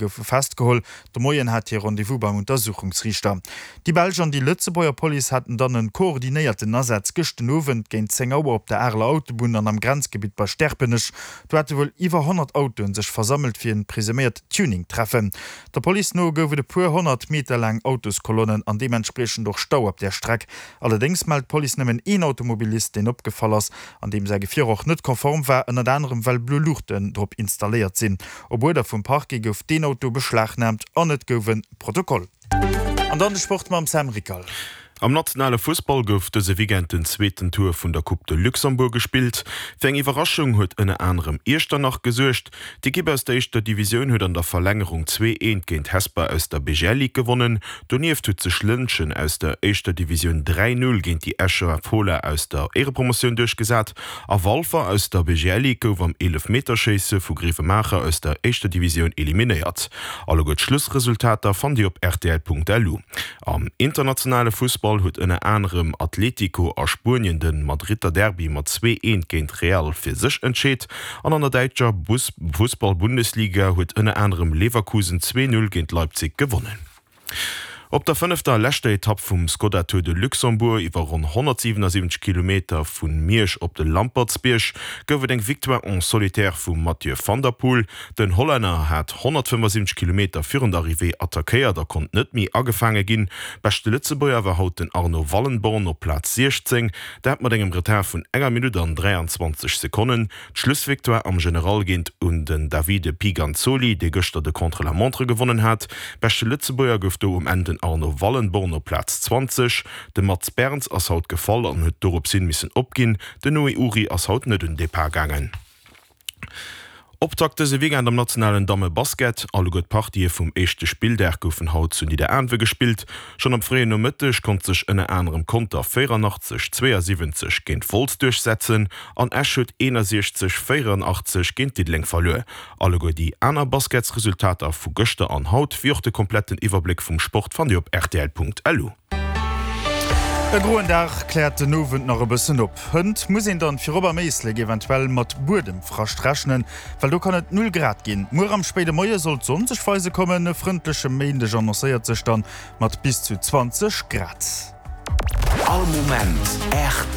Goufe festgeholl. De Moien hat hie Rendez-vous beim Untersuchungsriichter. Déi belsch an déi Lëtzebuerger Police haten dann en koordinéierten Asaz gëscht den Owend géint 10 Auer op der Areler Autobunn an am Grenzgebitt bei Sterpenech. Do hate wuel iwwer 100 Autoen sech versammelt fir en presuméiert Tuning-Treffen. Der Police no gouf et e puer 100 Meter laang Autoskolonnen an deementspriechend och Stau op där Streck. Allerdéngs mellt d'Police nëmmen een Automobilist, deen opgefall ass an deem säi Gefier och net konform war, ënnert anerem well blo Luuchten drop installéiert sinn. Op Uerder vum Parquet gouf deen Auto beschlagnaamt an et gouf e Protokoll. An dann de Sport mam Sam Rickal. Am nationale Fussball gouf dëse Weekend den zweeten Tour vun der Coupe de Luxembourg gespillt. Fir eng Iwwerraschung huet ënner anerem Iechternach gesuergt. D'Ekipp aus der éischter Divisioun huet an der Verlängerung 2, 1 géint Hesper aus der BGL Ligue gewonnen. Donieft huet sech Lëntgen aus der éischter Divisioun 3, 0 géint déi Escher Fola aus der Éierepromotioun duerchgesat. A Walfer aus der BGL Ligue gouf am Eelefmeterschéisse vu Grevenmacher aus der éischter Divisioun eliminéiert. Alleguer d'Schlussresultater fannt Dir op rtl.lu. Am internationale Fussball huet ënner anerem Atletico a Spuenien de Madridder Derby mat 2, 1 géint Real fir sech entscheet an an der däitscher Fussball-Bundesliga huet ënner anerem Leverkusen 2, 0 géint Leipzig gewonnen. Op der fënnefter a leschter Etapp vum Skoda Tour de Luxembourg iwwer ronn 177 Kilometer vu Miersch op de Lampertsbierg gouf et eng Victoire en solitaire vum Mathieu van der Poel. Den Hollänner hat 175 Kilometer virun der Arrivée attackéiert a konnt net méi agefaange ginn. Beschte Lëtzebuerger war haut den Arno Wallenborn op Plaz 16, dat mat engem Retard vun enger Minutt an 23 Sekonnen. D'Schlussvictoire am General geet un den Davide Piganzoli, dee gëschter de Contre-la-montre gewonnen hat. Beschte Lëtzebuerger gouf do um Enn den Arno Wallenborn op Plaz 20. De Mats Berns ass haut gefall an huet doropshin missen opginn. Den Noé Uri ass haut net un Depart gaangen. Optakt dëse Weekend am nationalen Damme-Basket. Alleguer d'Partië vum éischte Spilldag goufen haut zu Nidderaanwe gespillt. Schonn am fréien Nomëtteg konnt sech ënner anerem Conter 84, 72 géint Wolz duerchsetzen an Esch huet 61, 84 géint Diddeleng verluer. Alleguer déi aner Basketsresultater vu gëschter an haut, wéi och de kompletten Iwwerbléck vum Sport fannt Dir op rtl.lu. E groen Dag kläert den Owend nach e bëssen op. Hënt muss een dann virop am Éislek eventuell mat Buedemfrascht rechnen, well do kann et 0 Grad ginn. Muer am spéide Moie soll d'Sonn sech weise kommen. E frëndleche Méindeg annoncéiert sech dann mat bis zu 20 Grad. All Moment rtl.